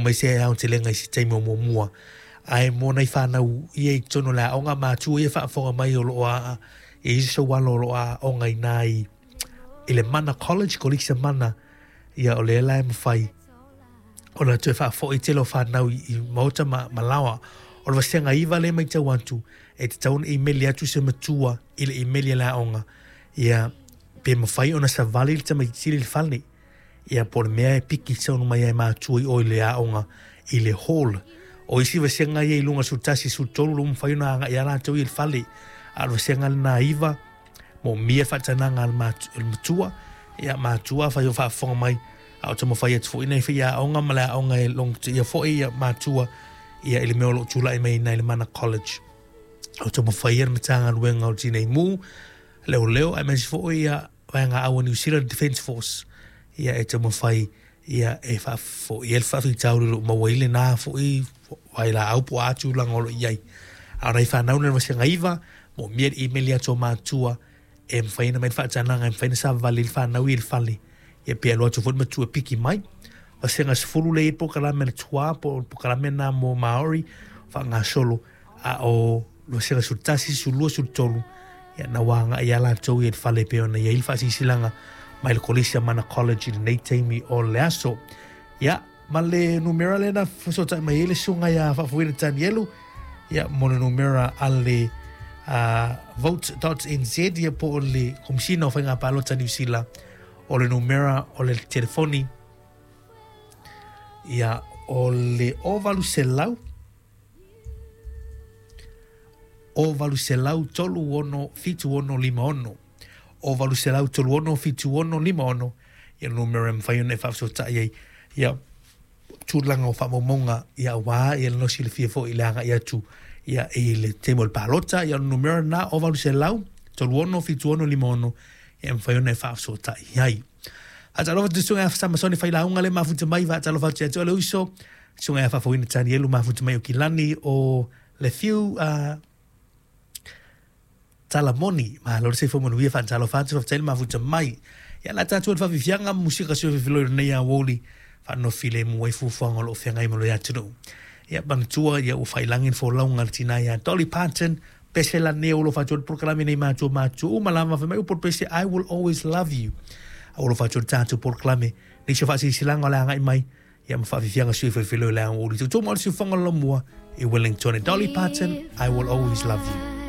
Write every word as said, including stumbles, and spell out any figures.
mai se aotelega i se taimi o muamua ae mo nai fanau ia i totonu o le aoga matua ia faafofoga mai o loo aa e isi sou alo o loo aoga i ina i i le Mana College Kolisi Mana ia o lea la e mafai ona toe faafoi tele o fanau i, i maota ma, ma laoa. O le vasega iva lea e matau atu e tatau ona imeli atu se matua i le imeli a le aoga ia pe mafai ona savali le tamaititi i le fale ia po o le mea e piki tonu mai ai matua i o i le aoga i le hall. O isi vasega ia i luga sefulu tasi sefulu tolu lo mafai ona agai a latou i le fale a o le vasega lena iva moomia faatanaga a le matua ia matua afai o faafofoga mai a o taumafai atu foi nei faiaoga ma le aoga e logotia foi ia matua ia i le mea o loo tulai mai i le Mana College. O taumafai ia le Matagaluega o le Tinei Mu, Leoleo aemaise foi ia Vaega Au a New Zealand Defence Force ia e taumafai ia e faafoia le faafitauli o loo maua ai lena foi vailaau po o a tulaga o loo i ai. A o nai fanau na i le vasega iva moomia le email atu o matua e mafai ona mai le faatanaga e mafai ona savavali ai le fanau i le fale ia pe alu atu foi le matua e piki mai. Vasega sefulu lea e i ai le polokalame a le T U A po o le polokalame lena mo Maori faagasolo a o le vasega sefulu tasi, sefulu lua, sefulu tolu ia na ua agai lava latou i le fale pei ona i ai le faasilasilaga mai le Kolisi a Mana College i lenei taimi o le aso. Ia ma le numera lea na fesootai mai ai le susuga ia Faafofoina Tanielu ia mo le numera a le uh, vote dot N Z ia po o le Komisina o Faiga Palota Niu Sila o le numera o le telefoni ia o le o valu selau o valu selau tolu ono fitu ono lima ono o valu selau tolu ono fitu ono lima ono ia numera e mafai ona e faafesootai ai ia tulaga o faamaumauga ia aua ia le silafia foi i le agai atu ia i le taimi o le palota ia o le numera lena o valu selau tolu ono fitu ono lima ono e mafai ona e faafesootai ai. Faatalofa atu i le susuga ia Samasoni Failauga le mafuta mai, faatalofa atu ia te oe le uso, susuga ia Faafofoina Tanielu mafuta mai o Kilani o le fiu uh, Talamoni. Malo le soifua manuia, faatalofa atu, faafetai le mafuta mai. Ia la tatou le faafiafiaga ma musika sui lenei aoauli faanofilemu ai fuafuaga o loo feagai ma le atunuu. Ia manatua ia ua failangi le folauga a le tina ia Dolly Parton pese la nei o lo faatu le polokalame nei matua matua uma lava fai mai upu o le pese, "I will always love you." A o lo faatu le tatou polokalame nisi o faasilasilaga o le agai mai ia ma faafiafiaga sui felefele o le aoauli tutu mo le siufaga o le lamua i Wellington. Dolly Parton, "I Will Always Love You."